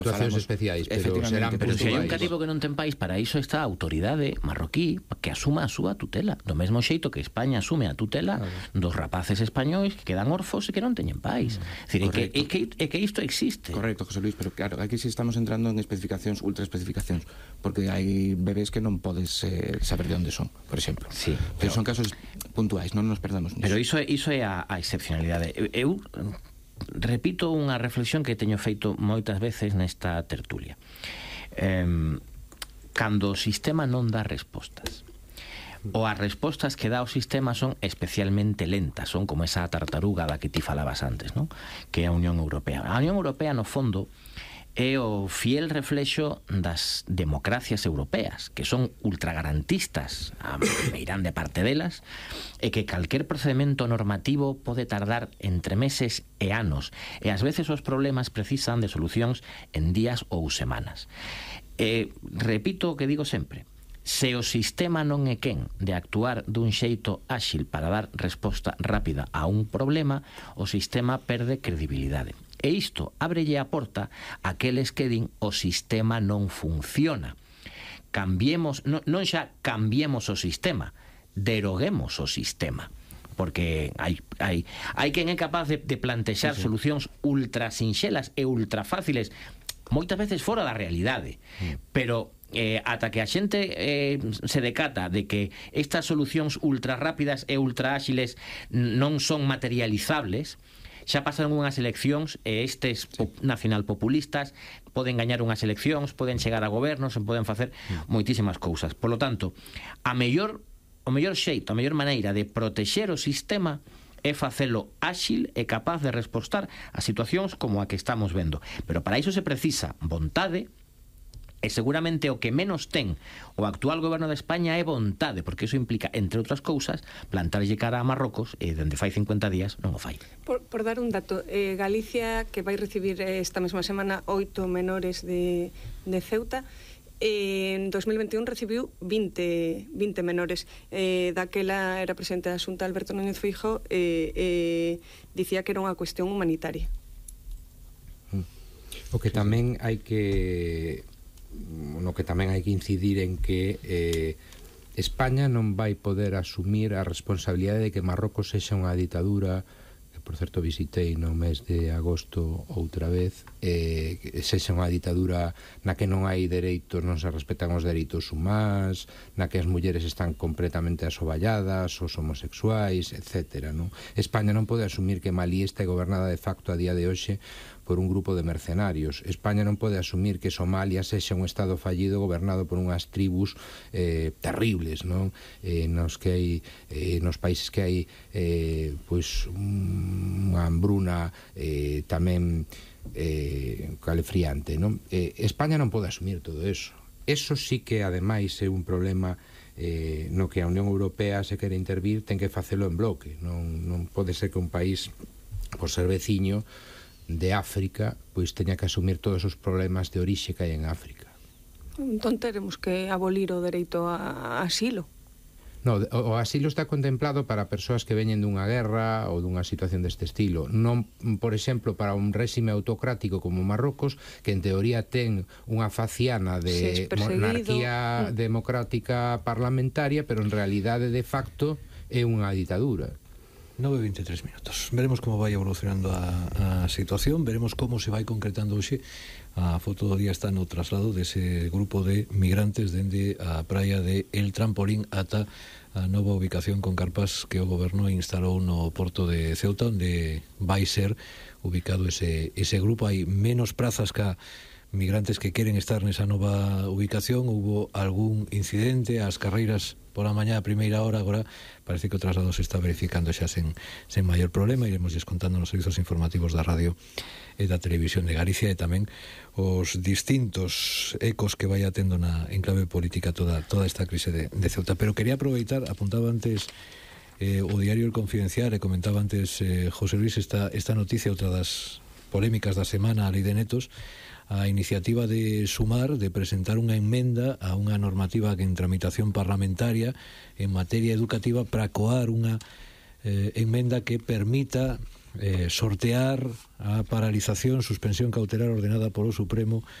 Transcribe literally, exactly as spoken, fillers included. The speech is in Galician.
Situacións especiais, pero serán pero puntuais. se hai un cativo que non ten país, para iso está a autoridade marroquí que asuma a súa tutela, do mesmo xeito que España asume a tutela claro. dos rapaces españois que quedan orfos e que non teñen país. Mm. Decir, é, que, é, que, é que isto existe. Correcto, José Luis, pero claro, aquí sí estamos entrando en especificacións, ultra especificacións, porque hai bebés que non podes eh, saber de onde son, por exemplo. Sí, pero, pero son casos puntuais, non nos perdamos nisso. Pero iso é, iso é a, a excepcionalidade. Eu, eu repito unha reflexión que teño feito moitas veces nesta tertulia. Eh, cando o sistema non dá respostas, ou as respostas que dá o sistema son especialmente lentas, son como esa tartaruga da que ti falabas antes, ¿no? Que é a Unión Europea. A Unión Europea, no fondo, é o fiel reflexo das democracias europeas, que son ultragarantistas, a meirán de parte delas, e que calquer procedimento normativo pode tardar entre meses e anos, e ás veces os problemas precisan de solucións en días ou semanas. E repito o que digo sempre: se o sistema non é quen de actuar dun xeito áxil para dar resposta rápida a un problema, o sistema perde credibilidade. E isto ábrelle a porta a aqueles que din o sistema non funciona. Cambiemos, non, non xa cambiemos o sistema, deroguemos o sistema. Porque hai, hai, hai quen é capaz de, de plantexar sí, sí. solucións ultra sinxelas e ultra fáciles, moitas veces fora da realidade, mm. pero eh, ata que a xente eh, se decata de que estas solucións ultra rápidas e ultra áxiles non son materializables, xa pasaron unhas eleccións e estes sí. nacionalpopulistas poden gañar unhas eleccións, poden chegar a gobernos, poden facer sí. moitísimas cousas. Por lo tanto, a mellor, o mellor xeito, a mellor maneira de protexer o sistema é facelo áxil e capaz de respostar a situacións como a que estamos vendo. Pero para iso se precisa vontade, e seguramente o que menos ten o actual goberno de España é vontade, porque iso implica, entre outras cousas, plantarlle cara a Marrocos, e dende fai cincuenta días non o fai. Por, por dar un dato, eh, Galicia, que vai recibir esta mesma semana oito menores de, de Ceuta, eh, en dos mil veintiún recibiu vinte, vinte menores. Eh, daquela era presidente da Xunta Alberto Núñez Feijóo, eh, eh, dicía que era unha cuestión humanitaria. O que tamén hai que... no que tamén hai que incidir en que eh, España non vai poder asumir a responsabilidade de que Marrocos sexa unha ditadura, que por certo visitei no mes de agosto outra vez, eh, sexa unha ditadura na que non hai dereitos, non se respetan os dereitos humanos, na que as mulleres están completamente asoballadas, os homosexuais, etcétera, non? España non pode asumir que Malí está gobernada de facto a día de hoxe por un grupo de mercenarios. España non pode asumir que Somalia sexa un estado fallido gobernado por unhas tribus eh, terribles, non? Eh, nos que hai eh, nos países que hai eh, pois unha hambruna eh, tamén eh, calefriante, non? Eh, España non pode asumir todo eso. Eso sí que ademais é un problema eh, no que a Unión Europea se quere intervir, ten que facelo en bloque. Non, non pode ser que un país, por ser veciño de África, pois teña que asumir todos os problemas de orixe que hai en África. Entón teremos que abolir o dereito a asilo. No, o asilo está contemplado para persoas que veñen dunha guerra ou dunha situación deste estilo. Non, por exemplo, para un réxime autocrático como Marrocos, que en teoría ten unha faciana de monarquía mm. democrática parlamentaria, pero en realidade de facto é unha ditadura. nove e vinte e tres minutos. Veremos como vai evolucionando a, a situación, veremos como se vai concretando hoxe. A foto do día está no traslado dese grupo de migrantes dende a praia de El Trampolín ata a nova ubicación con carpas que o goberno instalou no porto de Ceuta, onde vai ser ubicado ese, ese grupo. Hai menos prazas que migrantes que queren estar nesa nova ubicación. Hubo algún incidente ás carreiras pola mañá a primeira hora, agora parece que o traslado se está verificando xa sen, sen maior problema. Iremos descontando nos servizos informativos da radio e da televisión de Galicia, e tamén os distintos ecos que vai atendo na enclave política toda, toda esta crise de, de Ceuta. Pero quería aproveitar, apuntaba antes eh, o diario El Confidencial, e comentaba antes eh, José Luis esta, esta noticia, outra das polémicas da semana, a Lei de Netos, a iniciativa de Sumar de presentar unha enmenda a unha normativa que en tramitación parlamentaria en materia educativa para coar unha eh, enmenda que permita eh, sortear a paralización, suspensión cautelar ordenada polo Supremo